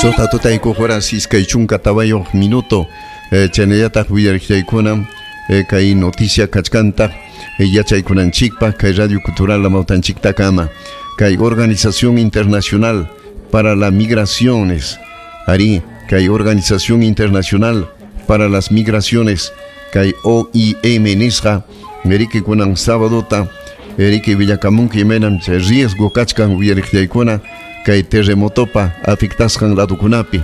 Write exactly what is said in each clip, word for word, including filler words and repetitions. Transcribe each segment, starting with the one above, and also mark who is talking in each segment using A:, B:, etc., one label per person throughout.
A: Suqta tutaykuq horas iskay chunka tawayuq minuto eh, chaynallataq willariqllaykuna eh, kay noticia kachkantaq eh, yachaykunanchikpaq kay Radio Cultural Amawtanchiktakama kay Organización Internacional para las Migraciones ari kay Organización Internacional para las Migraciones kay O I M nisqa eriki kunan sabadota eriki willakamunki imaynam chay riesgo kachkan willariqllaykuna kay terremotopa afectasqan ladukunapi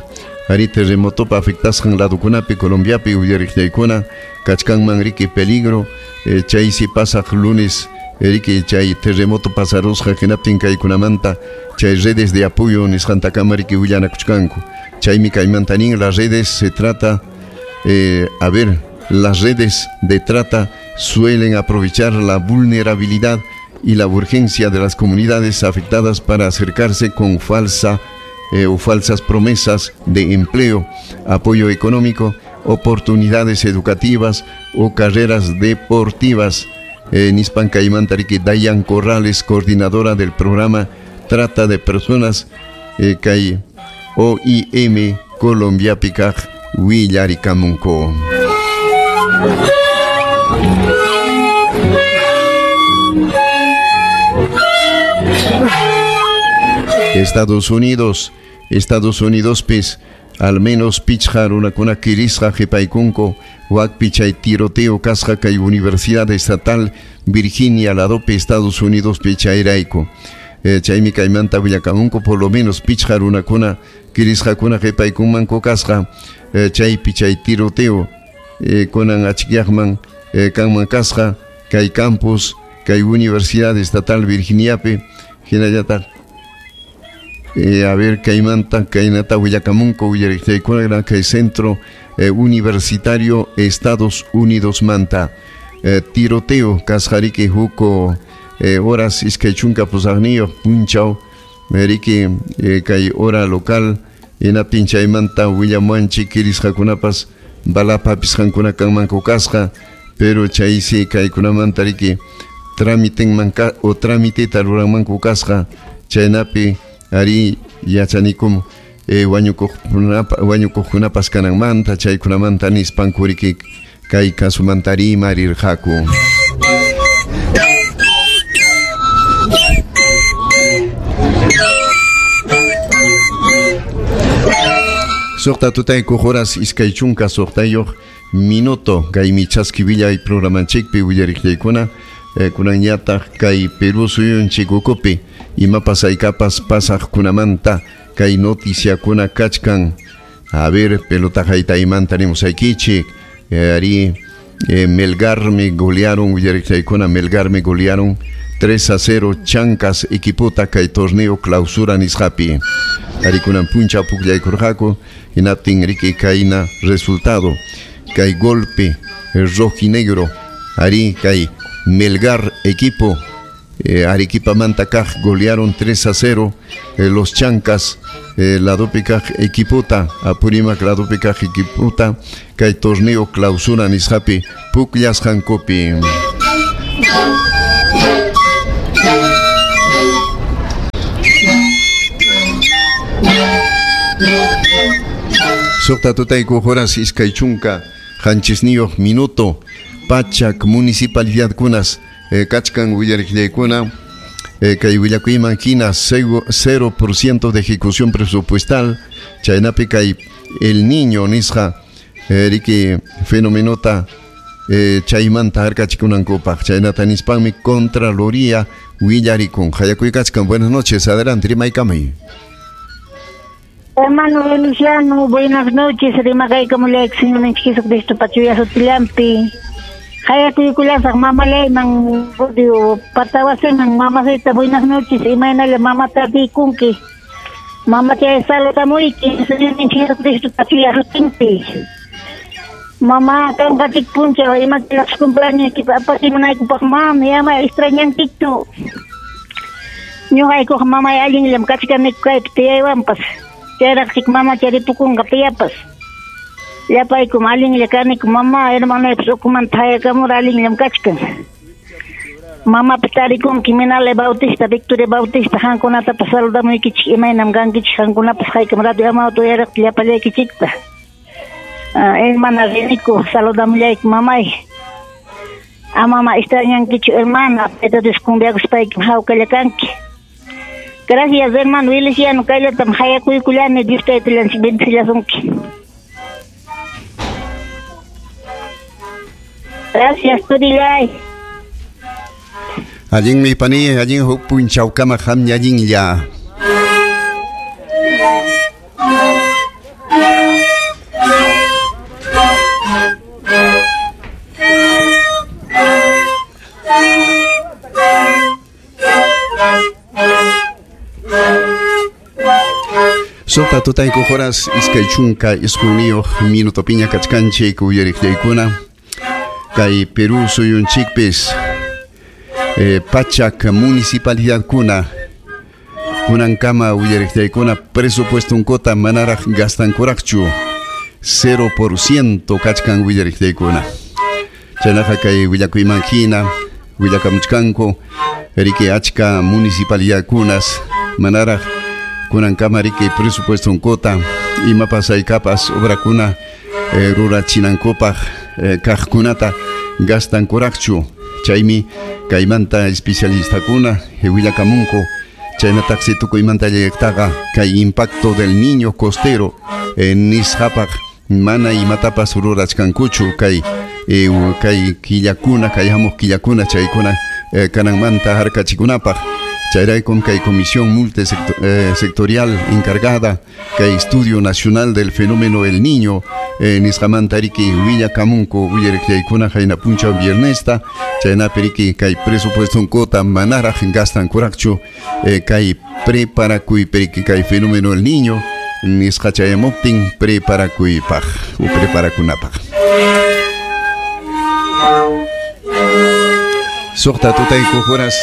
A: ari terremotopa afectasqan ladukunapi Colombiapi willariqllaykuna kachkanman riki peligro eh, chaysi pasaq lunes eriki chay terremoto pasarusqa hinaptin kaykunamanta chay redes de apoyo nisqantakama riki willanakuchkanku chaymi kaymanta nin las redes se trata eh, a ver las redes de trata suelen aprovechar la vulnerabilidad y la urgencia de las comunidades afectadas para acercarse con falsa eh, o falsas promesas de empleo, apoyo económico, oportunidades educativas o carreras deportivas. Eh, nispan kaymanta riki Dayan Corrales, coordinadora del programa Trata de Personas eh, kay O I M Colombiapi kaq willarikamunku. Estados Unidos, Estados Unidos pis al menos pichqa runakuna kirisqa qhipaykunku wakpi chay tiroteo kasqa kay Universidad Estatal Virginia ladopi Estados Unidos pi chayrayku. Eh, chaymi kaymanta willakamunku por lo menos pichqa runakuna kirisqakuna qhipaykunmanku kasqa eh, chaypi chay tiroteo eh, kunan achikyaqman eh, kanman kasqa kay campus kay Universidad Estatal Virginiapi hinallataq Eh, a ver, kaymanta kaynata willakamunku willariqllaykuna kay Centro eh, Universitario Estados Unidos manta eh, tiroteo kasqariki huko eh, horas iskay chunka pusaqniyuq punchaw riki eh, kay hora local hinaptin chaymanta willamuanchik kirisqakunapas balapa hapisqankuna kanmanku kasqa pero chaysi kaykunamanta riki tramitenman o tramiteta ruranmanku kasqa chaynapi ari yachanikum eh, wañukuqkunapa wañukuqkunapas kananmanta chaykunamanta nispanku riki kay kasumanta rimarirqaku. Suqta tutaykuq horas iskay chunka suqtayuq minuto kaymi chaski willay programanchikpi willariqllaykuna eh, kunanñataq kay Perú suyunchik ukupi imapas haykapas pasaqkunamanta kay noticiakuna kachkan. A ver, pelota haytaymanta nimusaykichik eh, ari eh, Melgar me golearon willariqllaykuna Melgar me golearon tres a cero Chancas equipota kay torneo clausura nisqapi ari kunan puncha pukllaykurqaku hinaptin riki kayna resultado kay golpe el rojinegro ari kay Melgar equipo eh, Arequipa manta kaq golearon tres a cero eh, los Chancas eh, ladopi kaq equipota Apurímac ladopi kaq equipota kay torneo clausura nisqapi pukllasqankupi. Suqta tutaykuq horas iskay chunka qanchisniyuq minuto pachak municipalidadkunas eh, kachkan willariqllaykuna eh, kay willakuyman hina cero por ciento de ejecución presupuestal chaynapi kay El Niño nisqa eh, riki fenomenota eh, chaymanta harkachikunankupaq chaynata nispanmi Contraloría willarikun. Hayakuy kachkan, buenas noches, adelante rimaykamay.
B: Hermano Luciano, buenas noches, rimakaykamullayki Señorninchik Jesucristo pachuya sutillampi. Hayakuykulasaq mamalayman digo patawasiman mamacita, buenas noches, imaynalla mamata tikunki. Mamachay salutamuyki Señorninchik Jesucristo pachuya sutinpi. Mamá, kanqachik punchaw imakillapis cumpleañoykipa apachimunaykupaq mami ama extrañankikchu. Ñuqaykuqa mamay allinllam kachkaniku kaypi tiyaywanpas. Chayraqchik mamacha ripukunqa piyapas. Llapaykum allinlla kaniku mamá, hermanoypas ukumanta hayakamura allinllam kachkan. Mamapi tarikunki Minale Bautista, Victoria Bautista, qankunatapas saludamuykichik, imaynam kankichik, qankunapas haykam radio Amauta uyariq llapallaykichikta. Ah, hermana Renico, saludamullayki mamay. Amama extrañankichu hermana, Tayta Dios cumbiakuspaykim hawkalla kanki. Gracias hermano Feliciano, kayllatam hayakuykullani, Dios taytallanchik bendecillasunki. Gracias, turillay.
A: Allinmi pani, allin huk punchawkama qamña allinlla. Sota tutayku horas iskay chunka isquniyuq minuto piña kachkanchik uyariqllaykuna kay Perú suyunchikpis eh, pachak municipalidadkuna kunankama uyariqllaykuna presupuestonkota manaraq gastankuraqchu cero por ciento kachkan uyariqllaykuna chaynaqa kay willakuyman hina willakamuchkanku riki achka municipalidadkunas manaraq kunankama riki presupuestonkota imapas haykapas obrakuna eh, rurachinankupaq eh, kaqkunata gastankuraqchu chaymi kaymanta especialistakuna willakamunku chaynataqsi tukuymanta llayaqtaqa kay impacto del niño costero eh, nisqapaq mana imatapas rurachkankuchu kay eh, kay killakuna kay hamuq killakuna chaykuna eh, kananmanta harkachikunapaq chayraykum kay comisión multisectorial eh, encargada kay estudio nacional del fenómeno El Niño eh, nisqamanta riki willakamunku uyariqllaykuna qayna punchaw viernesta chaynapi riki kay presupuestonkota manaraq gastankuraqchu eh, kay preparakuypi riki kay fenómeno El Niño nisqa chayamuptin preparakuypaq u preparakunapaq. Suqta tutayku horas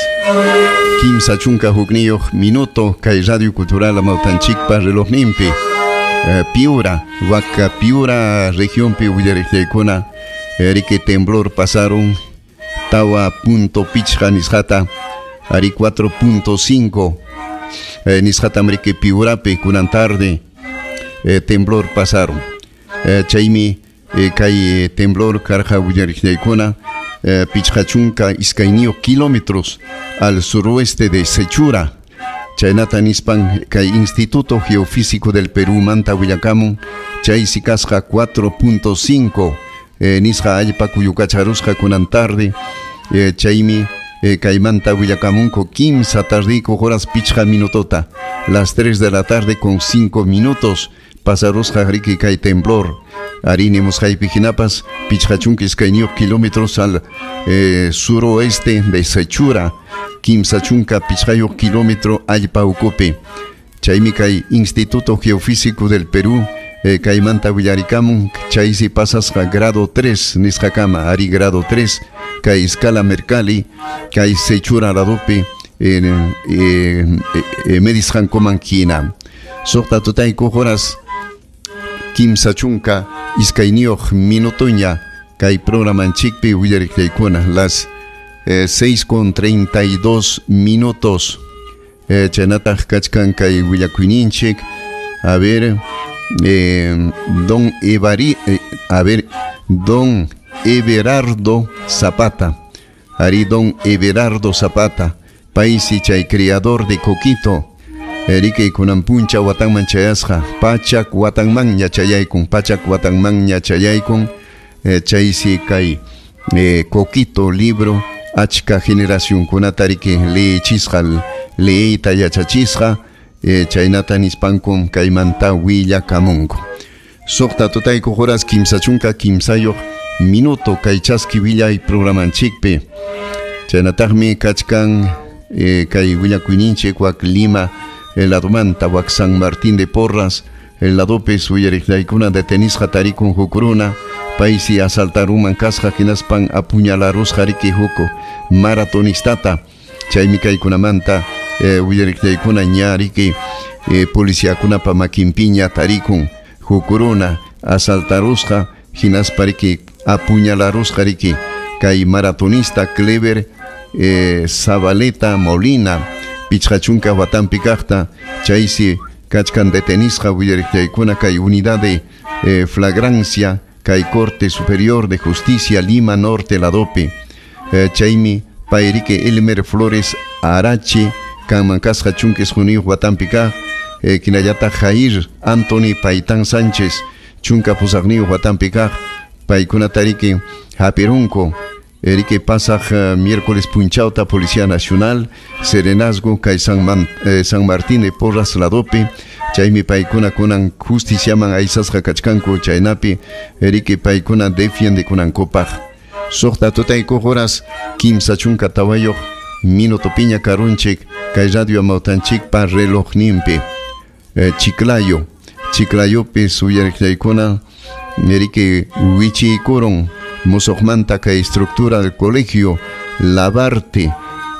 A: kimsa chunka hukniyuq minuto kay Radio Cultural Amautanchikpa relojninpi eh, Piura, waka Piura regionpi willariqllaykuna eh, riki temblor pasaron tawa punto pichqa nisqata ari cuatro punto cinco eh, nisqatam riki Piurapi kunan tarde eh, temblor pasaron eh, chaymi eh, kay temblor karqa willariqllaykuna Eh, pichqa chunka iskayniyuq kilómetros al suroeste de Sechura chaynata nispan kay Instituto Geofísico del Perú manta willakamun chaysi kasqa cuatro punto cinco eh, nisqa allpa kuyukacharusqa kunan tarde eh, chaymi eh, kaymanta willakamunku kimsa tardiku horas pichqa minutota las tres de la tarde con cinco minutos pasarusqa riki kay temblor arini musqaypi hinapas pichqa chunka iskayniyuq kilómetros al eh, suroeste de Sechura kimsa chunka pichqayuq kilómetro allpa ukupi chaymi kay Instituto Geofísico del Perú eh, kaymanta willarikamun chaysi pasasqa grado tres nisqakama ari grado tres kay escala Mercalli kay Sechura ladopi eh, eh, eh, medisqankuman hina suqta tutayku horas kimsa chunka iskayniyuq minutoña kay programanchikpi willariqllaykuna las eh, seis con treinta y dos minutos eh, chaynataq kachkan kay willakuyninchik a ver eh, don Evari, eh, a ver don Everardo Zapata ari don Everardo Zapata paysi chay criador de coquito Erike kunan puncha watanman chayasqa pachak watanmanña chayaykun pachak watanmanña chayaykun eh, chaysi kay eh, coquito libro achka generacionkunata riki leyichisqa leyta yachachisqa eh, chaynata nispankum kaymanta willakamunku suqta tutayku horas kimsa chunka kimsayuq minuto kay chaski willay programanchikpi chaynataqmi kachkan eh, kay willakuyninchik wak Lima el ladomanta wak San Martín de Porras el ladopes uyariqllaykuna detenisqa tarikun huk runa paysi asaltaruman kasqa hinaspan apuñalarusqa riki huk maratonistata chaymi kaykunamanta eh, uyariqllaykuna ña riki eh, policiakunapa makinpiña tarikun huk runa asaltarusqa hinaspa riki apuñalarusqa riki kay maratonista Clever eh, Zabaleta Molina pichqa chunka watampi kaqta chaysi kachkan detenisqa willariqchaykuna kay unidad de eh, flagrancia kay Corte Superior de Justicia Lima Norte ladopi eh, chaymi payriki Elmer Flores Arache kanman kasqa chunka isquniyuq watampi kaq eh, hinallataq Jair Anthony Paitan Sánchez chunka pusaqniyuq watampi kaq paykunatariki hapirunku Erike pasaq uh, miércoles punchawta Policía Nacional Serenazgo kay San, Man, eh, San Martín de Porras ladopi chaymi paykuna kunan justiciaman aysasqa kachkanku chaynapi erike paykuna defiendekunankupaq suqta tutaykuq horas kimsa chunka tawayuq minuto piña karunchik kay radio amawtanchikpa relojninpi eh, Chiclayo Chiclayopi suyariqllaykuna erike wichiykurun musuqmanta kay estructura del colegio Labarte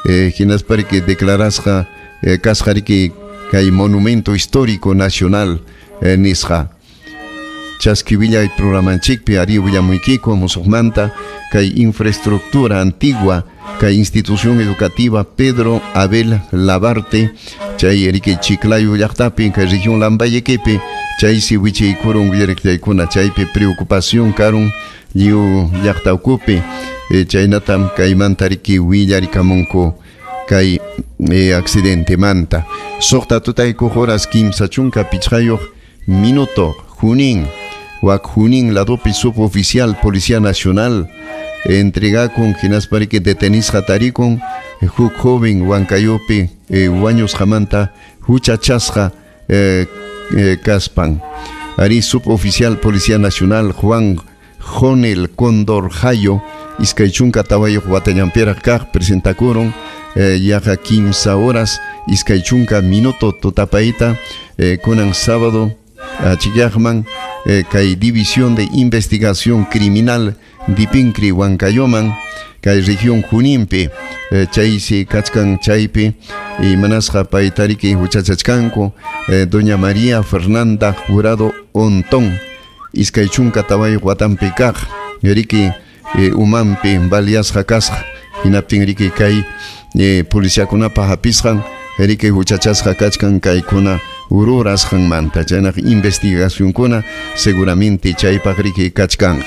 A: eh, hinaspa riki declarasqa eh, kasqa riki kay monumento histórico nacional eh, nisqa chaski willay programanchikpi ari willamuykiku musuqmanta kay infraestructura antigua kay institución educativa Pedro Abel Labarte chay riki Chiclayo llaqtapi kay región Lambayequepi chaysi wichiykurun willariqllaykuna chaypi preocupación karun lliw llaqta ukupi eh, chaynatam kaymanta riki willarikamunku kay eh, accidentemanta suqta tutaykuq horas kimsa chunka pichqayuq minuto Junín wak Junín ladopi suboficial Policía Nacional entregakun hinaspa riki detenisqa tarikun huk joven Huancayopi eh, wañusqamanta huchachasqa eh, eh, kaspan ari suboficial Policía Nacional Juan Jonel Condor Jayo iskay chunka tawayuq watallanpiraq kaq presentakurun eh, yaqa kimsa horas iskay chunka minuto tutapayta eh, kunan sábado achikyaqman eh, kay División de Investigación Criminal Dipincri Huancayoman kay región Juninpi eh, chaysi kachkan chaypi imanasqa paytariki huchachachkanku eh, doña María Fernanda Jurado Ontón iskay chunka tawayuq watampi kaq riki eh, umanpi baliasqa kasqa hinaptin riki kay eh, policiakunapa hapisqan riki huchachasqa kachkan kaykuna rurasqanmanta chaynaq investigacionkuna seguramente chaypaq riki kachkanqa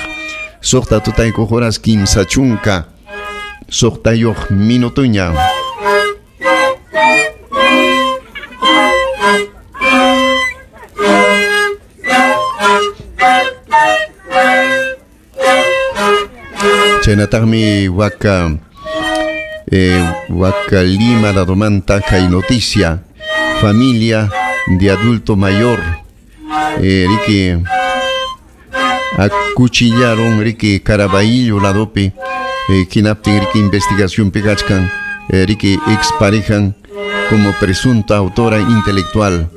A: suqta tutaykuq horas kimsa chunka suqtayuq minutuña. Chaynataqmi waka eh, waka Lima ladomanta kay noticia familia de adulto mayor eh, riki acuchillaron riki Caraballo ladopi eh, hinaptin riki investigación kachkan eh, riki exparejan como presunta autora intelectual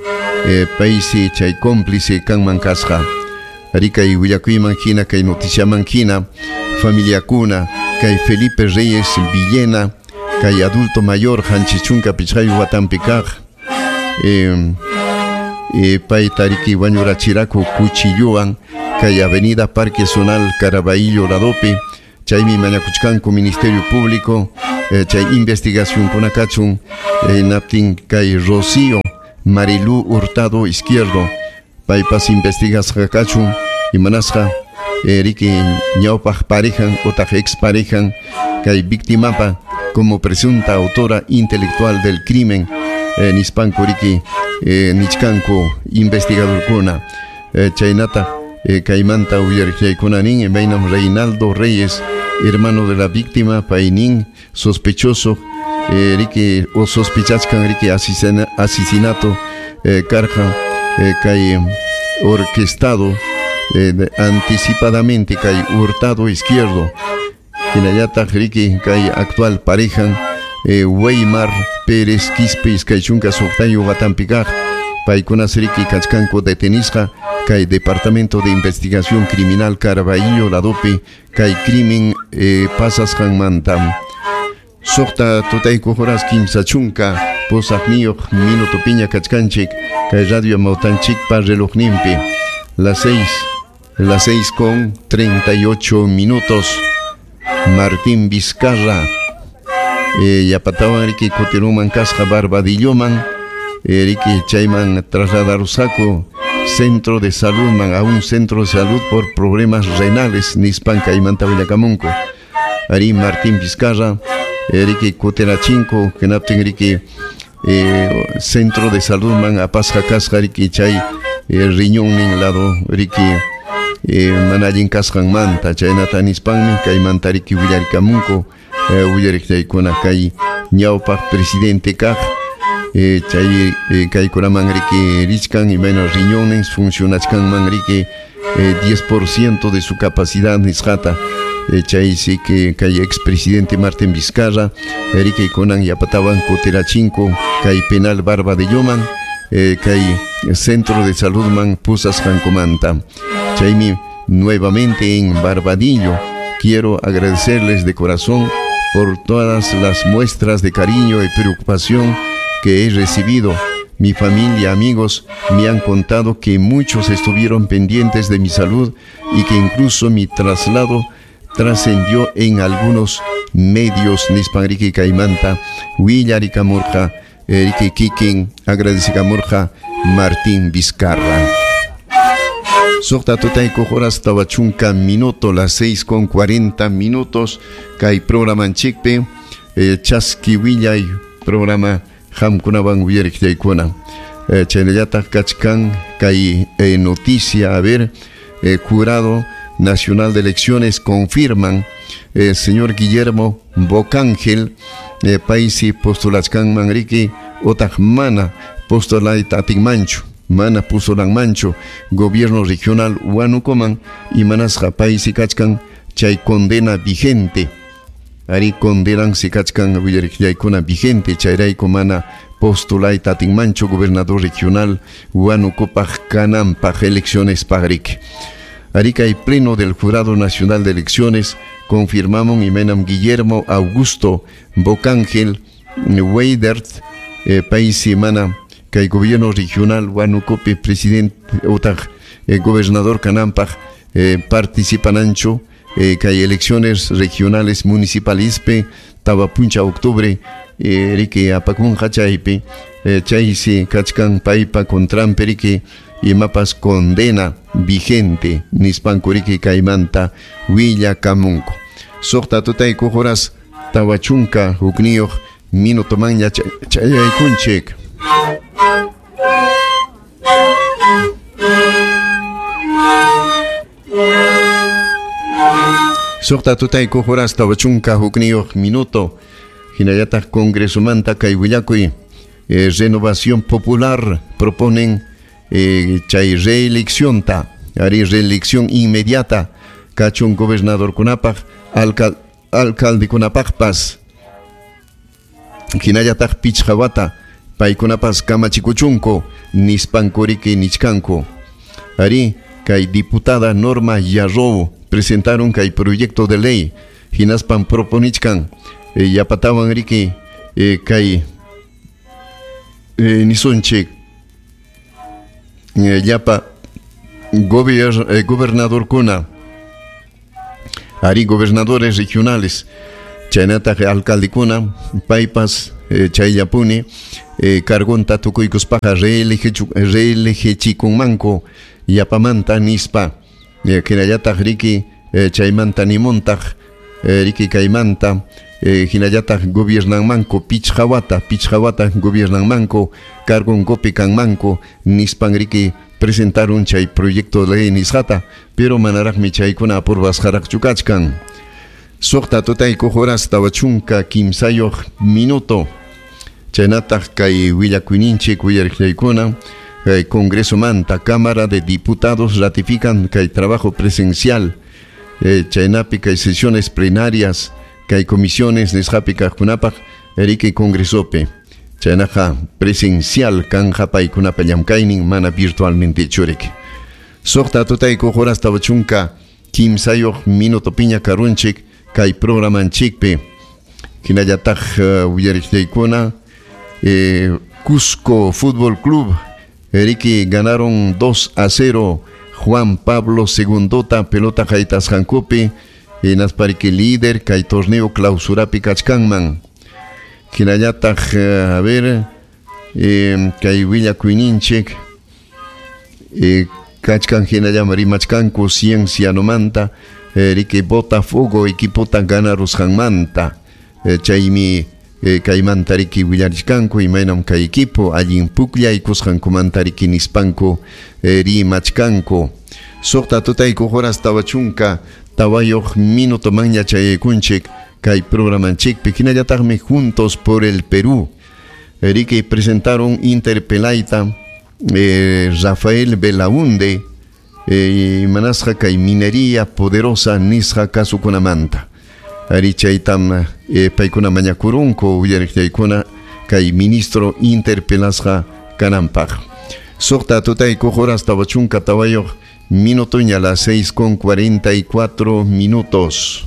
A: eh, paysi chay cómplice kanman kasqa rikay willakuyman hina kay noticiaman hina familiakuna kay Felipe Reyes Villena kay adulto mayor qanchis chunka pichqayuq watampi kaq eh, eh, payta riki wañurachiraku cuchilluwan kay avenida Parque Zonal Caraballo ladopi chaymi mañakuchkanku Ministerio Público eh, chay investigacionkuna kachun eh, naptin kay Rocío Marilú Hurtado Izquierdo paypas investigasqa kachun imanasqa eh, riki ñawpaq parejan utaq ex parejan kay víctimapa como presunta autora intelectual del crimen eh, nispanku riki eh, nichkanku investigadorkuna eh, chaynata eh, kaymanta uyariqllaykuna nin imaynam Reinaldo Reyes hermano de la víctima paynin sospechoso eh, riki o sospechachkan riki asesina, asesinato eh, karqa eh, kay orquestado eh, anticipadamente kay Hurtado Izquierdo hinallataq riki kay actual parejan eh, Weimar Pérez Quispe iskay chunka suqtayuq watampi kaq paykunas riki kachkanku detenisqa kay Departamento de Investigación Criminal Caraballo ladopi kay crimen eh, pasasqanmanta suqta tutaykuq horas kimsa chunka pusaqniyuq minuto piña kachkanchik kay radio amawtanchikpa relojninpi las seis las seis con treinta y ocho minutos. Martín Vizcarra eh, yapatawan riki kutiruman kasqa Barbadilloman eh, riki chayman trasladarusqaku centro de salud man a un centro de salud por problemas renales nispan kaymanta willakamunku. Ari Martín Vizcarra eh, riki kutirachinku hinaptin riki eh, centro de salud man apasqa kasqa riki chay eh, riñonnin lado riki eh, mana allin kasqanmanta chaynata nispanmi kaymanta riki willarikamunku eh, willariqchaykuna kay ñawpaq presidente kaq eh, chay eh, kaykunaman riki richkan imayna riñones funcionachkanman riki eh, diez por ciento de su capacidad nisqata eh, chay sí que kay expresidente Martín Vizcarra riki kunan yapatawan kutirachinku kay penal Barbadilloman eh, kay centro de salud man pusasqankumanta. Chaymi nuevamente en Barbadillo quiero agradecerles de corazón por todas las muestras de cariño y preocupación que he recibido. Mi familia, amigos, me han contado que muchos estuvieron pendientes de mi salud y que incluso mi traslado trascendió en algunos medios. Nispan riki kaymanta willarikamurqa riki kikin agradecikamurqa Martín Vizcarra. Suqta tutaykuq horas tawa chunka minuto, las seis con cuarenta minutos, kay programanchikpi eh, chaski willay programa qamkunawan willariqchaykuna. Eh, chaynallataq kachkan kay eh, noticia, a ver, eh, Jurado Nacional de Elecciones confirman eh, señor Guillermo Bocángel eh, paysi postulachkanman riki otaq mana postulayta atinmanchu, mana pusulanmanchu gobierno regional Huánucoman y manasqa paysi kachkan chay condena vigente. Ari condenansi kachkan willariqllaykuna vigente chayrayku mana postulayta atinmanchu gobernador regional Huánucopaq kananpaq elecciones paqriki. Ari kay pleno del Jurado Nacional de Elecciones confirmamos imaynam Guillermo Augusto Bocángel Weidert eh, paysi mana kay gobierno regional Huánucopi presidente otaq eh, gobernador kananpaq eh, participananchu eh, kay elecciones regionales municipalispi tawa puncha octubre eh, riki apakunqa chaypi eh, chaysi kachkan paypa contranpi riki imapas condena vigente nispanku riki kaymanta willakamunku. Suqta tutaykuq horas tawa chunka hukniyuq minutomanña chayaykunchik. Suqta tutaykuq horas tawa chunka hukniyuq minuto hinallataq Congresomanta kay willakuy eh, Renovación Popular proponen eh, chay reelección ta ari reelección inmediata kachun gobernadorkunapaq alcal alcaldekunapaqpas hinallataq pichqa wata paykunapas kamachikuchunku nispanku riki nichkanku. Ari kay diputada Norma Yarrow presentaron kay proyecto de ley hinaspan proponichkan eh, yapatawan riki eh, kay eh, nisunchik eh, llapa gobier, eh, gobernadorkuna ari gobernadores regionales chaynataq alcaldekuna paypas eh, chayllapuni eh, cargonta tukuykuspaqa reelegichikunmanku yapamanta nispa eh, hinallataq riki eh, chaymanta nimuntaq eh, riki kaymanta eh, hinallataq gobiernanmanku pichqa wata pichqa wata gobiernanmanku cargonkupi kanmanku nispan riki presentaron chay proyecto de ley nisqata pero manaraqmi chaykuna aprobasqaraqchu kachkan. Suqta tutaykuq horas tawa chunka kimsayuq minuto chaynataq kay willakuyninchik willariqllaykuna kay Congreso manta Cámara de Diputados ratifican kay trabajo presencial eh, chaynapi kay sesiones plenarias kay comisiones nisqapi kaqkunapaq riki Congresopi chaynaqa presencial kanja paykunapa llamkaynin mana virtualmente churik. Suqta tutaykuq horas tawa chunka kimsayuq minutopiña karunchik kay programanchikpi hinallataq uh, willariqllaykuna eh, Cusco Fútbol Club riki ganaron dos a cero Juan Pablo Segundota pelota haytasqankupi hinaspa riki líder kay torneo clausurapi kachkanman. Hinallataq, a ver, eh, kay willakuyninchik eh, kachkan hinallam rimachkanku Ciencianomanta, eh, riki Botafogo equipota ganarusqanmanta, eh, chaymi eh, kaymanta riki willarichkanku imaynam kay equipo allin pukllaykusqankumanta riki nispanku eh, rimachkanku. Suqta tutayku horas tawa chunka tawayuq minuto manña chayaykunchik kay programanchikpi. Hinallataqmi Juntos por el Perú, riki presentaron interpelaita eh, Rafael Belaunde eh, manasqa kay minería poderosa nisqa kasukunamanta. Ari chaytam eh, paykuna mañakurunku uyariqllaykuna kay ministro interpelasqa kananpaq. Suqta tutayku horas tawa chunka tawayuq minutoña, las seis con cuarenta y cuatro minutos.